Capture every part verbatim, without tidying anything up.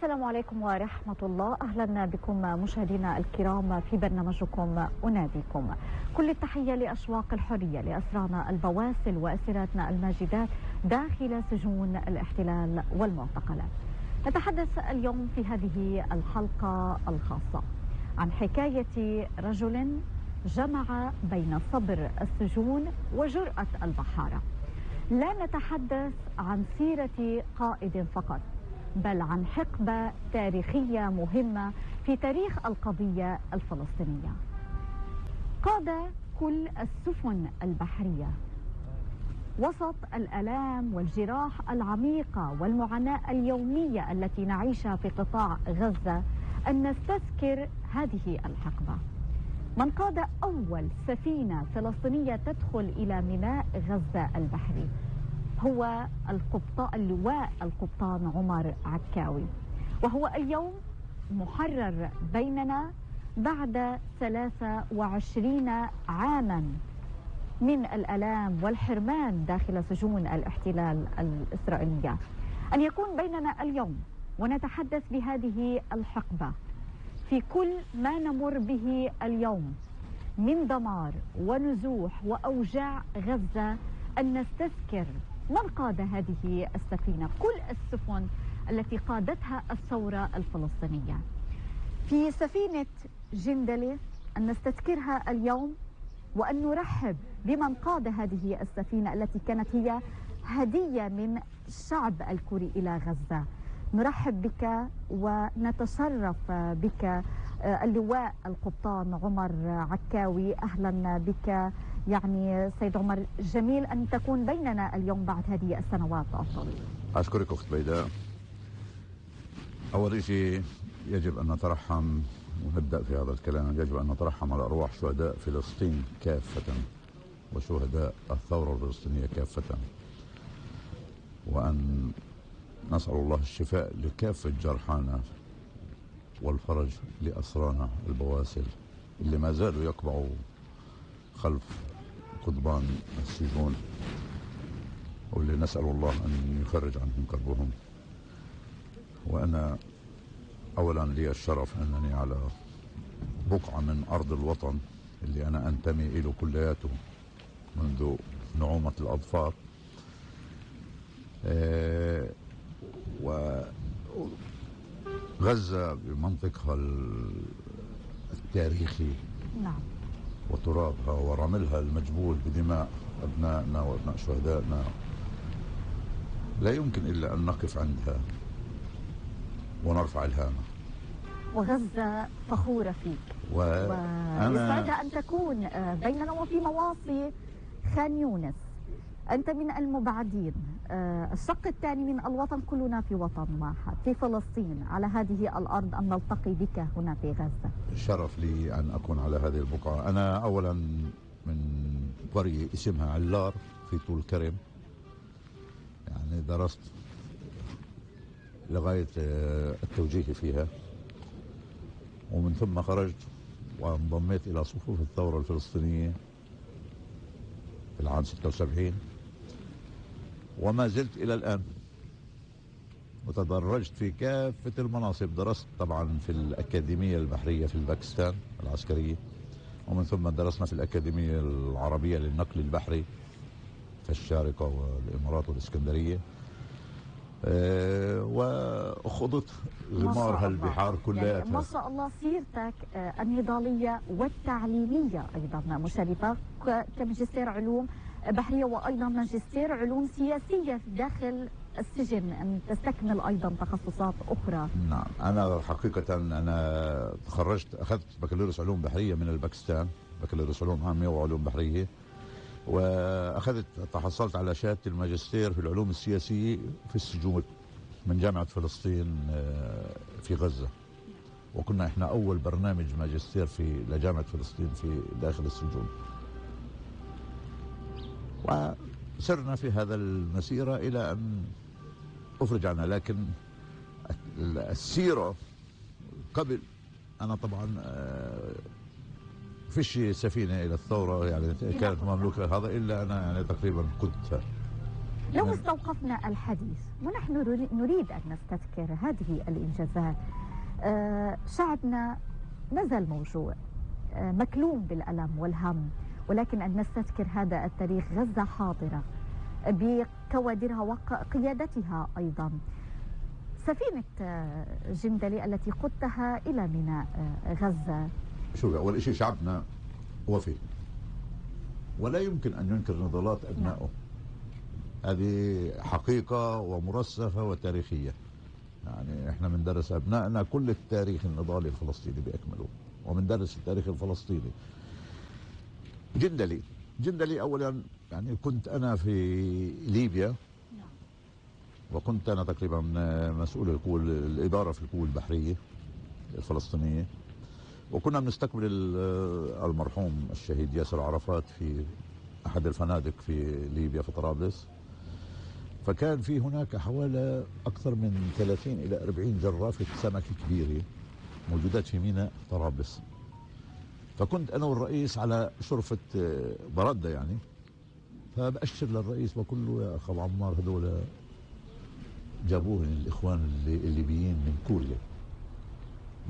السلام عليكم ورحمة الله. أهلا بكم مشاهدينا الكرام في برنامجكم أناديكم. كل التحية لأشواق الحرية لأسرانا البواسل وأسيراتنا الماجدات داخل سجون الاحتلال والمعتقلات. نتحدث اليوم في هذه الحلقة الخاصة عن حكاية رجل جمع بين صبر السجون وجرأة البحارة. لا نتحدث عن سيرة قائد فقط، بل عن حقبة تاريخية مهمة في تاريخ القضية الفلسطينية. قاد كل السفن البحرية وسط الآلام والجراح العميقة والمعاناة اليومية التي نعيشها في قطاع غزة أن نستذكر هذه الحقبة. من قاد أول سفينة فلسطينية تدخل إلى ميناء غزة البحري هو القبطان اللواء القبطان عمر عكاوي، وهو اليوم محرر بيننا بعد ثلاثة وعشرين عاما من الآلام والحرمان داخل سجون الاحتلال الإسرائيلية. أن يكون بيننا اليوم ونتحدث بهذه الحقبة في كل ما نمر به اليوم من دمار ونزوح وأوجاع غزة، أن نستذكر من قاد هذه السفينة، كل السفن التي قادتها الثورة الفلسطينية. في سفينة جندلة أن نستذكرها اليوم وأن نرحب بمن قاد هذه السفينة التي كانت هي هدية من الشعب الكوري إلى غزة. نرحب بك ونتشرف بك اللواء القبطان عمر عكاوي. أهلا بك. يعني سيد عمر، جميل أن تكون بيننا اليوم بعد هذه السنوات الطويلة. أشكرك أخت بيداء. أول شيء يجب أن نترحم ونبدأ في هذا الكلام، يجب أن نترحم على أرواح شهداء فلسطين كافة وشهداء الثورة الفلسطينية كافة، وأن نسأل الله الشفاء لكافة جرحانا والفرج لأسرانا البواسل اللي ما زالوا يقبعوا خلف قضبان السجون، واللي نسأل الله أن يفرج عنهم كربهم. وأنا أولا لي الشرف أنني على بقعة من أرض الوطن اللي أنا أنتمي إليه كلياته منذ نعومة الأظفار، أه وغزة بمنطقها التاريخي نعم وترابها ورملها المجبول بدماء أبنائنا وأبناء شهدائنا لا يمكن إلا أن نقف عندها ونرفع الهامة. وغزة فخورة فيك ويسعدها أن تكون بيننا وفي مواصي خان يونس. أنت من المبعدين، الشق الثاني من الوطن، كلنا في وطن واحد في فلسطين، على هذه الأرض، أن نلتقي بك هنا في غزة. شرف لي أن أكون على هذه البقعة. أنا أولا من قرية اسمها علار في طول كرم، يعني درست لغاية التوجيهي فيها، ومن ثم خرجت وانضميت إلى صفوف الثورة الفلسطينية في العام ستة وسبعين، وما زلت إلى الآن، وتدرجت في كافة المناصب. درست طبعا في الأكاديمية البحرية في باكستان العسكرية، ومن ثم درسنا في الأكاديمية العربية للنقل البحري في الشارقة والإمارات والإسكندرية، أه وخضت غمارها البحار كلها. يعني ما شاء الله سيرتك النضالية والتعليمية أيضا مشرفة، كماجستير علوم بحرية وأيضا ماجستير علوم سياسية داخل السجن، أن تستكمل أيضا تخصصات أخرى. نعم، أنا حقيقة أنا تخرجت، أخذت بكالوريوس علوم بحرية من الباكستان، بكالوريوس علوم عامة وعلوم بحرية، وأخذت تحصلت على شهادة الماجستير في العلوم السياسية في السجون من جامعة فلسطين في غزة، وكنا إحنا أول برنامج ماجستير في لجامعة فلسطين في داخل السجون. وسرنا في هذا المسيرة إلى أن أفرج عنها. لكن السيرة قبل، أنا طبعا فيش سفينة إلى الثورة يعني كانت مملوكة هذا إلا أنا يعني تقريبا كنت لو استوقفنا الحديث ونحن نريد أن نستذكر هذه الإنجازات، آه شعبنا ما زال موجوع، آه مكلوم بالألم والهم، ولكن أن نستذكر هذا التاريخ. غزة حاضرة بكوادرها وقيادتها أيضا. سفينة جندلي التي قدتها إلى ميناء غزة، شو أول شيء شعبنا وفي ولا يمكن أن ينكر نضالات أبنائه. هذه حقيقة ومرسخة وتاريخية. يعني احنا بندرس أبنائنا كل التاريخ النضالي الفلسطيني بأكمله، وبندرس التاريخ الفلسطيني. جندلي جندلي أولا يعني كنت أنا في ليبيا، وكنت أنا تقريبا مسؤول القوى الإدارة في القوى البحرية الفلسطينية، وكنا بنستقبل المرحوم الشهيد ياسر عرفات في أحد الفنادق في ليبيا في طرابلس. فكان في هناك حوالي أكثر من ثلاثين إلى أربعين جرافة سمك كبيرة موجودات في ميناء طرابلس. فكنت أنا والرئيس على شرفة بردة يعني، فبأشر للرئيس بقول له يا أخ أبو عمار هذول جابوهن الإخوان الليبيين من كوريا،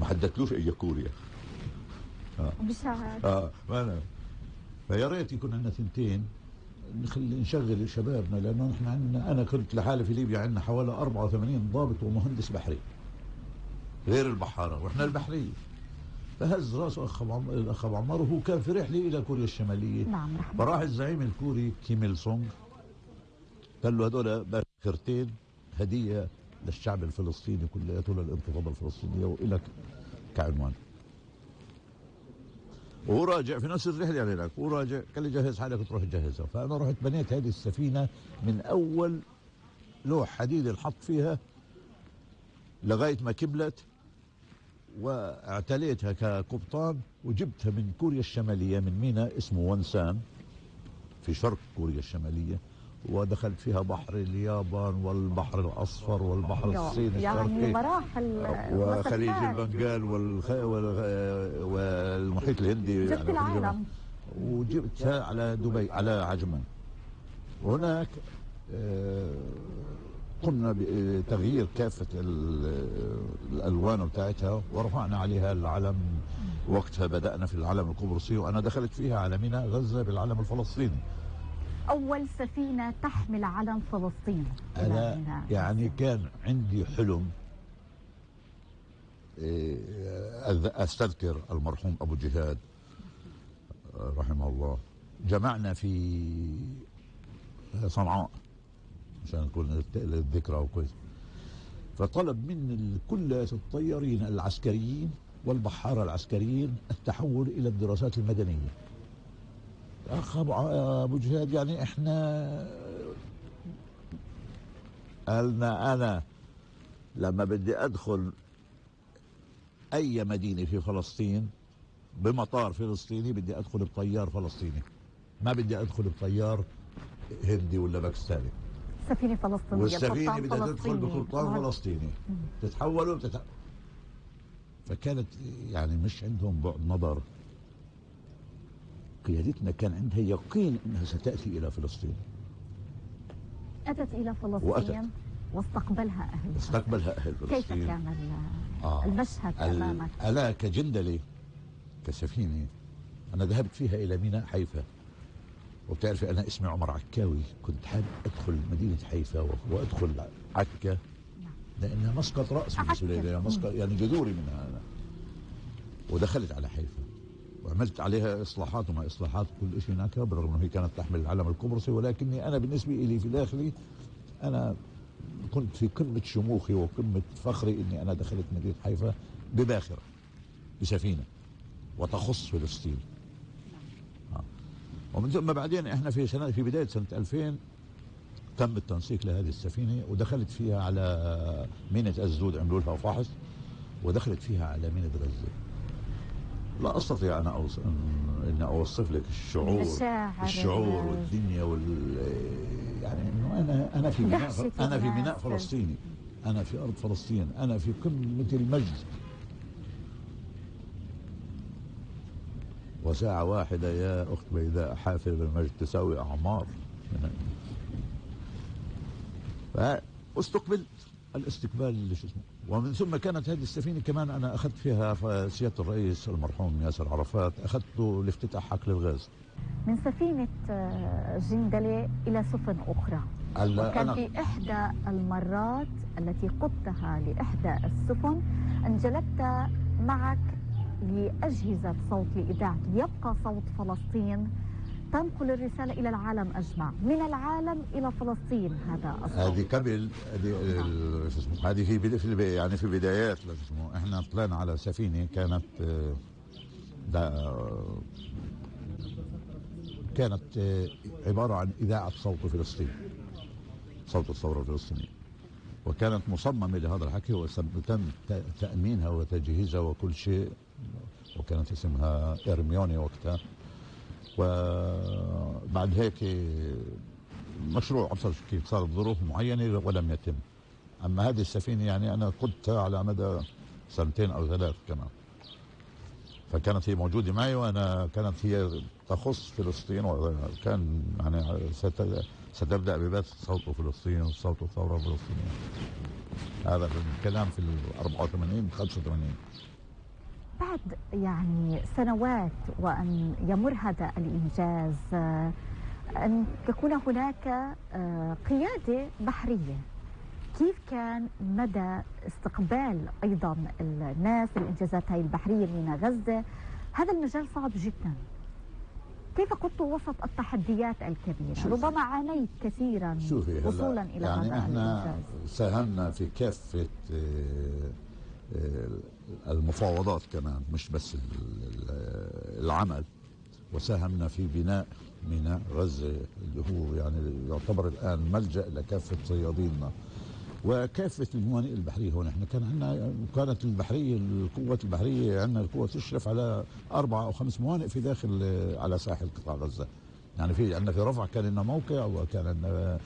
ما حددتلوش أي كوريا. آه. مش عارف. اه ما أنا فيا ريت يكون عندنا ثنتين نخلي نشغل شبابنا، لأنه نحن عندنا، أنا كنت لحالي في ليبيا عندنا حوالي أربعة وثمانين ضابط ومهندس بحري غير البحارة، وإحنا البحرية. فهز راسه أخ عمر الأخ أبو عمار، وهو كان في رحلة إلى كوريا الشمالية. نعم. فراح الزعيم الكوري كيم إل سونغ قال له هذول باخرتين هدية للشعب الفلسطيني كلياته، للانتفاضة الفلسطينية وإلك كعنوان. وهو راجع في نفس الرحلة يعني هناك، وهو راجع قال لي جهز حالك تروح تجهزها. فأنا رحت بنيت هذه السفينة من أول لوح حديد الحط فيها لغاية ما كبلت، واعتليتها كقبطان، وجبتها من كوريا الشمالية من ميناء اسمه ونسان في شرق كوريا الشمالية، ودخلت فيها بحر اليابان والبحر الأصفر والبحر الصيني الشرقي، يعني مراحل، وخليج البنغال والخ... والمحيط الهندي. جبت يعني العالم وجبتها على دبي على عجمان. وهناك قمنا بتغيير كافة الألوان بتاعتها ورفعنا عليها العلم. وقتها بدأنا في العلم القبرصي، وأنا دخلت فيها على ميناء غزة بالعلم الفلسطيني. أول سفينة تحمل علم فلسطين. أنا يعني كان عندي حلم أستذكر المرحوم أبو جهاد رحمه الله. جمعنا في صنعاء عشان تكون الذكرى وكويس. فطلب من كل الطيارين العسكريين والبحارة العسكريين التحول إلى الدراسات المدنية. أخ أبو جهاد يعني إحنا قالنا أنا لما بدي أدخل أي مدينة في فلسطين بمطار فلسطيني بدي أدخل بطيار فلسطيني، ما بدي أدخل بطيار هندي ولا باكستاني. سفينة فلسطينية، والسفينة بدها تدخل بقبطان فلسطيني تتحولوا بتتح... فكانت يعني مش عندهم بعد نظر. قيادتنا كان عندها يقين انها ستاتي الى فلسطين. اتت الى فلسطين وأتت. واستقبلها اهلها. استقبلها اهل فلسطين. كيف كان آه. المشهد امامك؟ انا كجندلي كسفينه انا ذهبت فيها الى ميناء حيفا، وبتعرفي انا اسمي عمر عكاوي، كنت حابب ادخل مدينه حيفا وادخل عكا لانها مسقط راس بالنسبه لي، مسقط يعني جذوري منها انا. ودخلت على حيفا وعملت عليها اصلاحات وما اصلاحات كل شيء هناك، بالرغم انه هي كانت تحمل العلم القبرصي، ولكني انا بالنسبه لي في داخلي انا كنت في قمه شموخي وقمه فخري اني انا دخلت مدينه حيفا بباخره بسفينه وتخص فلسطين. ومن ثم بعدين احنا في سنه في بدايه سنه ألفين تم التنسيق لهذه السفينه، ودخلت فيها على ميناء أسدود، عملوا لها فحص، ودخلت فيها على ميناء غزه. لا استطيع انا أوصف ان اوصف لك الشعور الشعور والدنيا وال يعني انه انا انا في ميناء انا في ميناء فلسطيني، انا في ارض فلسطين، انا في قمه المجد. وساعة واحدة يا أخت بيداء حافل بالمجد تساوي أعمار. فاستقبلت الاستقبال شو اسمه. ومن ثم كانت هذه السفينه كمان انا اخذت فيها سياده الرئيس المرحوم ياسر عرفات، اخذته لافتتاح حقل الغاز. من سفينه جندله الى سفن اخرى، وكان أنا في احدى المرات التي قدتها لاحدى السفن ان جلبت معك لاجهزه صوت لاذاعه يبقى صوت فلسطين، تنقل الرسالة إلى العالم أجمع، من العالم إلى فلسطين. هذا الصوت. هذه قبل هذه في في يعني في بدايات اسمه احنا طلعنا على سفينة كانت كانت عبارة عن إذاعة صوت فلسطين، صوت الثورة الفلسطينية، وكانت مصممة لهذا الحكي وتم تأمينها وتجهيزها وكل شيء، وكانت اسمها إرميوني وقتها. وبعد هيك مشروع أبصر كيف صار بظروف معينة ولم يتم. أما هذه السفينة يعني أنا قدتها على مدى سنتين أو ثلاث كمان، فكانت هي موجودة معي، وأنا كانت هي تخص فلسطين، وكان يعني ستبدأ ببث صوت فلسطين وصوت الثورة الفلسطينية. هذا الكلام في ال أربعة وثمانين خمسة وثمانين. بعد يعني سنوات وأن يمر هذا الإنجاز، أن تكون هناك قيادة بحرية، كيف كان مدى استقبال أيضا الناس للإنجازات هاي البحرية من غزة؟ هذا المجال صعب جدا، كيف قدت وسط التحديات الكبيرة؟ ربما عانيت كثيرا وصولا إلى يعني هذا احنا الإنجاز. ساهمنا في كافة المفاوضات كمان، مش بس العمل، وساهمنا في بناء ميناء غزة اللي هو يعني يعتبر الآن ملجأ لكافة صياديننا وكافة الموانئ البحرية. هون احنا كان عندنا كانت البحرية القوة البحرية عندنا القوة تشرف على أربعة أو خمس موانئ في داخل على ساحل قطاع غزة. يعني في عندنا في رفح كان لنا موقع، وكان عندنا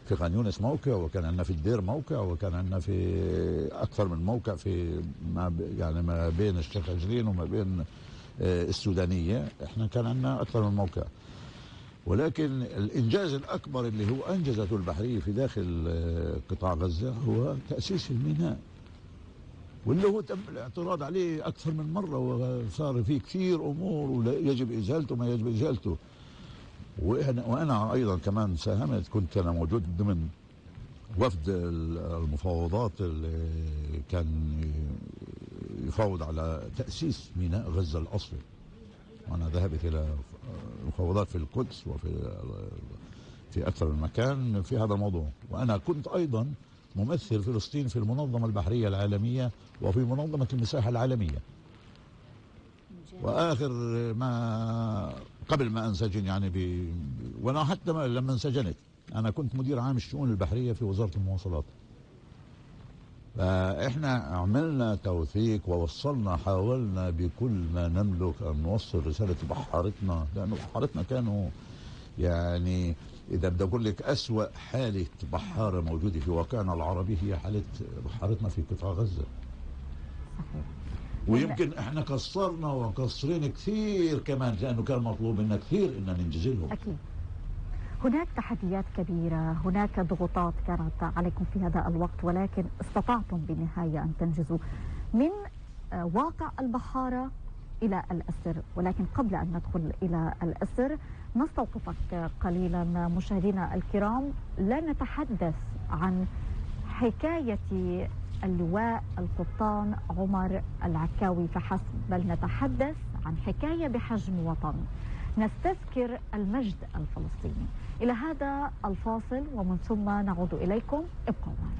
في خان يونس موقع، وكان عندنا في الدير موقع، وكان عندنا في أكثر من موقع في ما يعني ما بين الشيخ عجلين وما بين السودانية. احنا كان عندنا أكثر من موقع، ولكن الإنجاز الأكبر اللي هو أنجزته البحرية في داخل قطاع غزة هو تأسيس الميناء، واللي هو تم الاعتراض عليه أكثر من مرة، وصار فيه كثير أمور ويجب إزالته ما يجب إزالته. وأنا, وأنا أيضا كمان ساهمت، كنت أنا موجود ضمن وفد المفاوضات اللي كان يفاوض على تأسيس ميناء غزة الأصلي، وأنا ذهبت إلى مفاوضات في القدس وفي في أكثر من مكان في هذا الموضوع. وأنا كنت أيضا ممثل فلسطين في المنظمة البحرية العالمية وفي منظمة المساحة العالمية. وآخر ما قبل ما أنسجن يعني ب... وأنا حتى لما انسجنت أنا كنت مدير عام الشؤون البحرية في وزارة المواصلات. فإحنا عملنا توثيق ووصلنا، حاولنا بكل ما نملك أن نوصل رسالة بحارتنا، لأنه بحارتنا كانوا يعني إذا بدي أقول لك أسوأ حالة بحارة موجودة في واقعنا العربي هي حالة بحارتنا في قطاع غزة. صحيح. ويمكن احنا قصرنا وقصرين كثير كمان، لأنه كان مطلوب منا كثير إن ننجز لهم. أكيد. هناك تحديات كبيرة، هناك ضغوطات كانت عليكم في هذا الوقت، ولكن استطعتم بالنهاية أن تنجزوا من واقع البحارة إلى الأسر. ولكن قبل أن ندخل إلى الأسر نستوقفك قليلا مشاهدينا الكرام، لا نتحدث عن حكاية اللواء القبطان عمر العكاوي فحسب، بل نتحدث عن حكاية بحجم وطن، نستذكر المجد الفلسطيني. إلى هذا الفاصل ومن ثم نعود إليكم، ابقوا معنا.